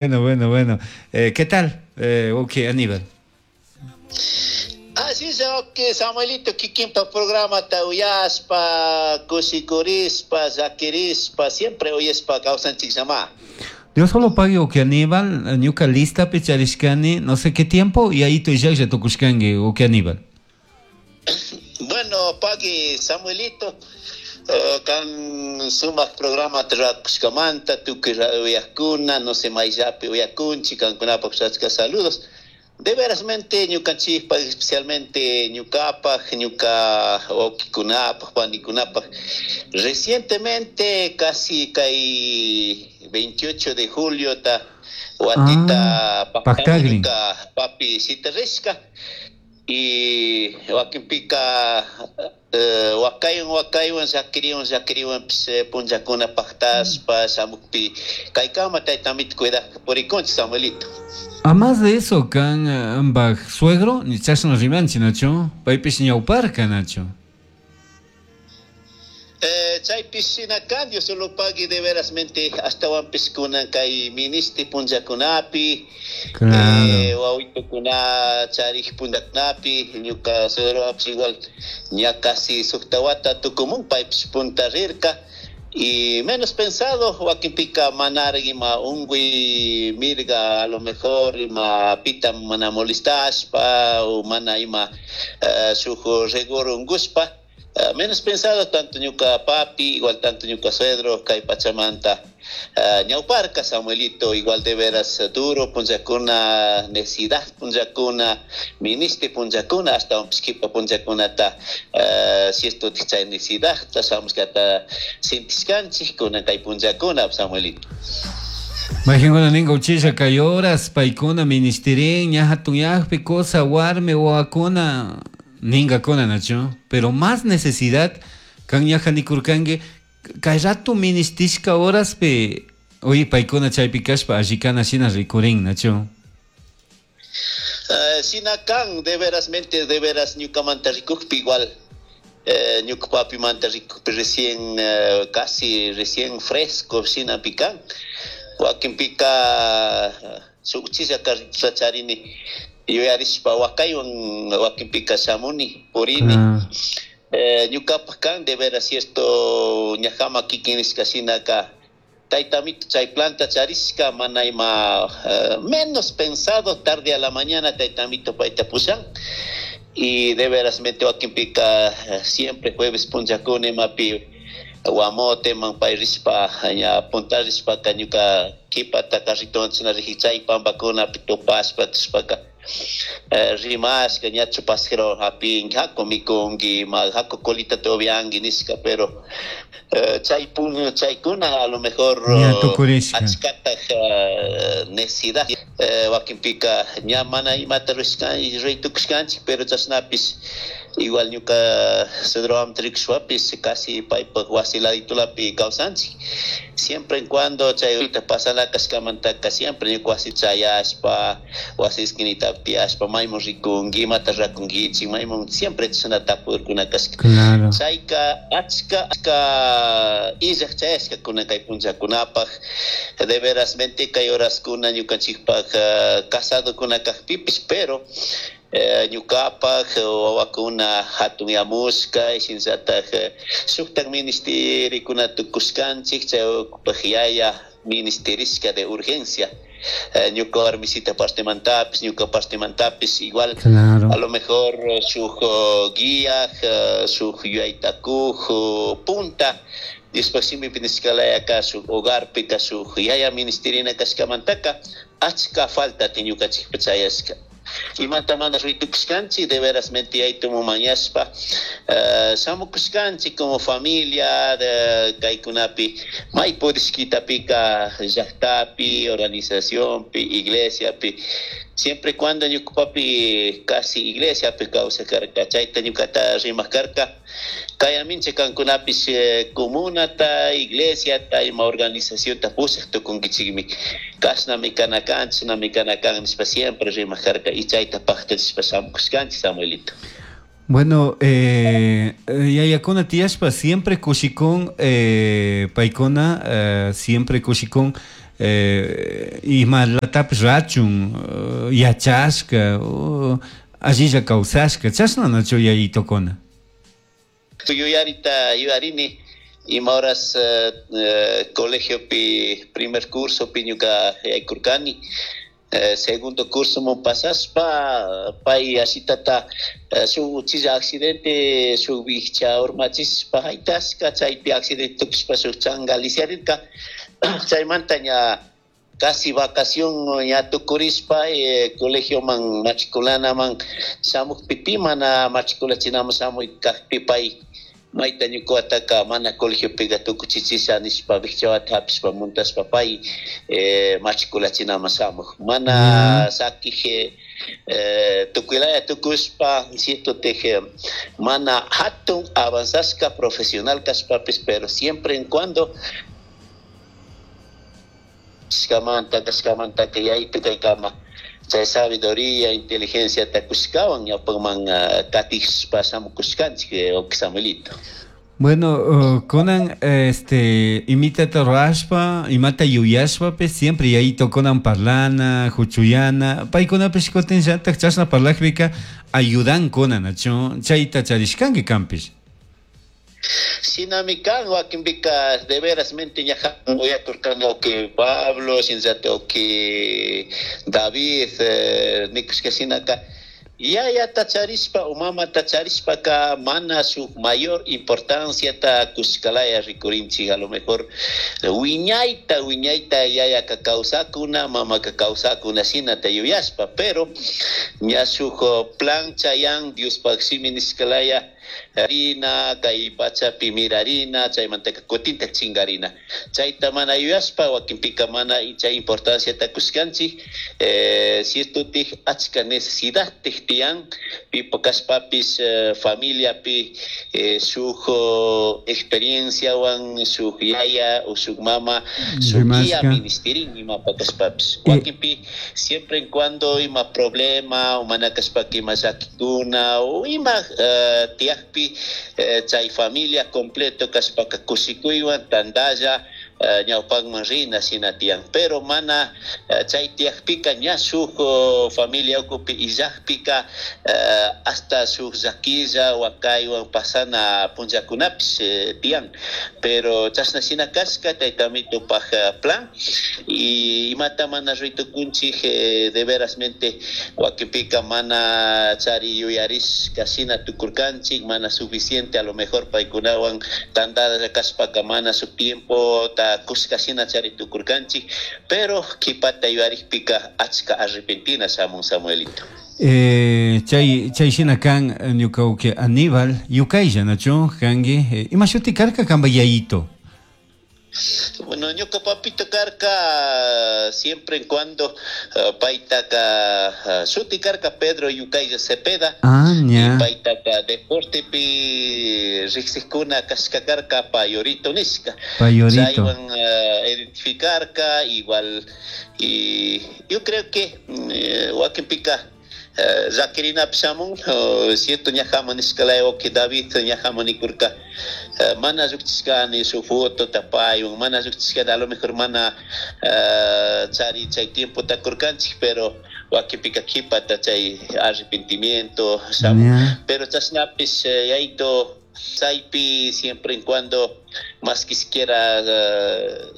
Bueno, bueno, bueno. ¿Qué tal? Ok, Aníbal. Así es, ok, Samuelito, kikinpa programata uyaspa, kushikurispa, llaquirispa, siempre uyaspa kawsanchik llama. Dios solo pague, ok, Aníbal, ñuka listapi charishkani, no sé qué tiempo, y ahí tu ya tukushkanki, ok, Aníbal. Bueno, pagui Samuelito, kan sumak programa rurakushkamanta, tukuy uyakuna, no sé, mayllapi uyakunchik, kankunapaq achka saludos. De verasmente ñukanchikpaq, especialmente ñukapaq, ñuka wawqikunapaq, panikunapaq, recientemente, casi kay 28 de julio ta watita Ah, pactagrin. ñuka papi sitarishka y wakinpika wakaywan wakaywan llakiriwan llakiriwanpis punllakuna pactaspa shamukpi kaykama taytamita cuidaq purikunchik, Samuelito. A más de eso, kan ambaj suegro, ni chashna rimanchi, Nacho, paypish ñawparka, Nacho. Chaypish shina kan, Dios solo pagui de verasmente ashtawanpish kunan kay ministi punllakunapi, wawitukuna charik punllakunapi, ñuka suegropish igual ña casi sukta wata tukumun paypish punta rirka y menos pensado wakinpika manara ima unguy mirga a lo mejor ima pita mana molestashpa o mana ima shuk reguro ungushpa. Menos pensado tanto ñuka papi, igual tanto ñuka suegro, kay pachamanta. Ñawparka Samuelito, igual de veras duro, punllakuna necesidad punllakuna, ministi punllakuna, hasta un pishkipa punllakunata, si esto chay necesidad, shamushkata sintishkanchik kunan kay punllakuna, Samuelito. Mayqinkuna ninka uchilla kay horas, paykuna ministerin, ña hatunyaqpi cosa, warmi, wawakuna, ninkakuna, Nacho, pero más necesidad kan ñaja nikurkanki kay rato ministishka horaspi, oye, paykuna chaypi kashpa allikana shina rikurin, Nacho. Shina kan, de verasmente, de veras ñukamanta rikukpi igual, ñuka papimanta rikukpi recién, casi recién fresco shina pikan. Wakinpika shuk uchilla carrituta charini, yuyarishpa wakaywan wakinpika shamuni, purini. Ñukapak kan, de veras cierto, ñajama kikin nishka shinaka, taytamito chay planta charishka, mana ima, menos pensado, tarde a la mañana taytamito payta pushan. Y de veras mente wakinpika, siempre jueves punllakuna imapi guamote man pay rishpa, ña puntarishpa ka ñuka kipata carritowan china riji chay pampakunapi tupashpa, tushpaka, rimashka, ñachu pasjero hapinki, haku mikunki, ma haku colita tobianki nishka, pero chay pun, chaykuna a lo mejor, Ña tukurishka. achkataj, necesidad, wakinpika ña mana imata ruishkan, ruytukushkanchik, pero chashnapis igual ñuka suegro rikushpapis casi paypak wasi laditulapi kawsanchik. Siempre en cuando chay ahorita pasana kashkamantaka siempre ñuka wasi chayashpa, wasi esquinitapi tiyashpa, maymun rikunki, imata rakunkichik, maymun siempre chashna tapurkuna kashka. Chayka achka, achka illak chayashka kunan kay punllakunapaq, de veras mente kay horaskuna ñukanchikpak, casadokuna kakpipis, pero ñukapak wawakuna hatunyamushka, shinallatak shuktak ministerikuna tukushkanchik, chay ukupaj yaya ministerishka de urgencia. Ñuka warmisita partemantapis, ñuka partemantapis, igual, a lo mejor shuk guía, shuk yuyaytakuj punta, Diospaj shimipi nishkalayaka shuk hogarpika shuk yaya ministerina kashkamantaka achka falta ñukanchikpa chayashka. Imata mana ruytukushkanchik, de veras mente yaytumu mañashpa, shamukushkanchik como familia, de kaykunapi, may purishkitapika llaktapi, organizacionpi, iglesiapi, siempre cuando ñukapapi casi iglesiapi kawsakarka, chayta ñukata rimak karka, kayamincha kankunapis, comunata, iglesiata, ima organizacionta pushak tukunkichikmi, kashnami kana kan, chashnami kana kan nishpa siempre rimak karka, y chayta paktachishpa shamukushkanchik, Samuelito. Bueno, yayakuna tiyashpa siempre kushikun, paykuna, siempre kushikun, Imalatapish rachun yachashka, allilla kawsashka, chashna nachu yayitokuna? Yuyarita yuyarini ima horas colegiopi primer cursopi ñuka yaykurkani, segundo cursoman pasashpa pay ashitata shuk uchilla accidente shuk vicha urmachishpa haytashka, chaypi accidente tukushpa shuk changa lisiarirka. Chaymanta ña casi vacación ña tukurishpa colegioman matriculanaman shamukpi pi mana matriculachinaman shamuy kajpi pay mayta ñukuwataka mana colegiopiqa tukuchichisha nishpa vichawata hapishpa muntashpa pay matriculachinaman shamuk mana sakij tukuylaya tukushpa cierto teje mana hatun avanzashka profesional kashpapis, pero siempre en cuando kashkamanta kashkamantaka yaytu kaykama chay sabiduría, inteligencia takushkawan ñawpakman katishpa shamukushkanchik, wawki Samuelito. Bueno, kunan imitata rurashpa, imata yuyashpapish siempre yayito kunan parlana, huchuyana, paykunapish kutinllatak chashna parlakpika ayudankuna, nachu? Chayta charishkanki kanpish. Shinami kan, wakinpika de veras mente ñajan uyakurkani wawki Pablo, shinallatak wawki David, nikushka shinaka yayata charishpa o mamata charishpaka mana shuk mayor importanciata kushkalaya rikurinchik. A lo mejor wiñayta wiñayta yayaka kawsakuna, mamaka kawsakuna shinata yuyashpa, pero ña shuk plan chayan Diospaj shimi nishkalaya rina kay pachapi mirarina, chaymantaka kutintak chinkarina, chayta mana yuyashpa wakinpika mana chay importanciata kushkanchik. Ciertotik achka necesidadtik tiyan pipa kashpapis familiapi shuk experienciawan shuk yaya o shuk mama shuk guía ministerin imapa kashpapis. Wakinpi siempre en cuando ima problema o mana kashpaka ima llakikuna o ima tiyakpi chay familia completo kashpaka kushikuywan tantalla ñawpakman rina shina tiyan, pero mana chay tiyakpika ña shuk familia ukupi illakpika hasta shuk llakilla wakaywan pasana punllakunapish tiyan, pero chashna shina kashka tayta Amitopak plan y imata mana ruitukunchik de verasmente wakinpika mana chari yuyarishka shina tukurkanchik, mana suficiente a lo mejor paykunawan tantalla kashpaka mana shuk tiempo ta kushka shina chari tukurkanchik, pero kipata yuyarikpika achka arrepentina shamun, Samuelito. Chay shina kan ñuka wawki Aníbal Yukaylla, nachu kanki? Ima shuti karka kanpa yayito? Bueno, ñuka papito karka siempre en cuando paytaka shuti karka Pedro Yukaylla Cepeda. Ah, ña. Y paytaka deportepi riqsikkuna kashka karka Payorito nishka. Payorito. Chaywan identificarka igual, y yo creo que wakinpika llakirinapi shamun, cierto ñajaman nishkalaya wawki David ñajaman nikurka mana llukchishkani shuk fotota paywan, mana llukchishkani a lo mejor mana chari chay tiempota kurkanchik, pero wakinpika kipata chay arrepentimiento shamun. Pero chashnapish yayto chaypi siempre en cuando más que siquiera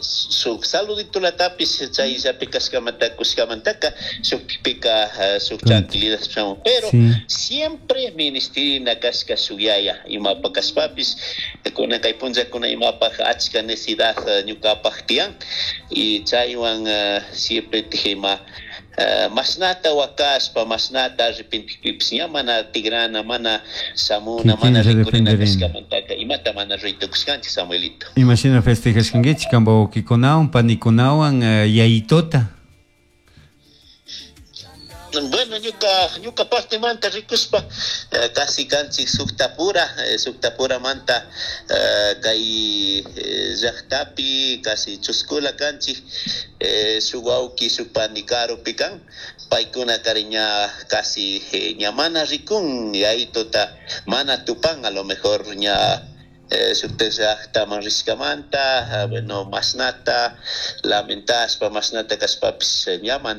shuk saluditolatapis chayllapi kashkamanta kushkamantaka shukpika shuk tranquilidad shamun, pero siempre ministrina kashka shuk yaya imapa kashpapis kunan kay punllakuna imapaj achka necesidad ñukapaj tiyan y chaywan siempre tijima mashnata wakashpa mashnata arrepentikpipis ña mana tigrana mana shamuna mana rikurina kashkamantaka imata mana ruytukushkanchik, Samuelito. Imashina festejashkankichik kanpa wawkikunawan panikunawan yayitota? Bueno, ñuka partemanta rikushpa casi kanchik suktapura, suktapuramanta kay llaktapi casi chuskula kanchik, shuk wawki shuk pani karupi kan, paykuna kari ña casi ña mana rikun yayitota mana tupan a lo mejor ña Shuktak llaktaman rishkamanta, bueno, mashnata lamentashpa, mashnata kashpapish ña mana.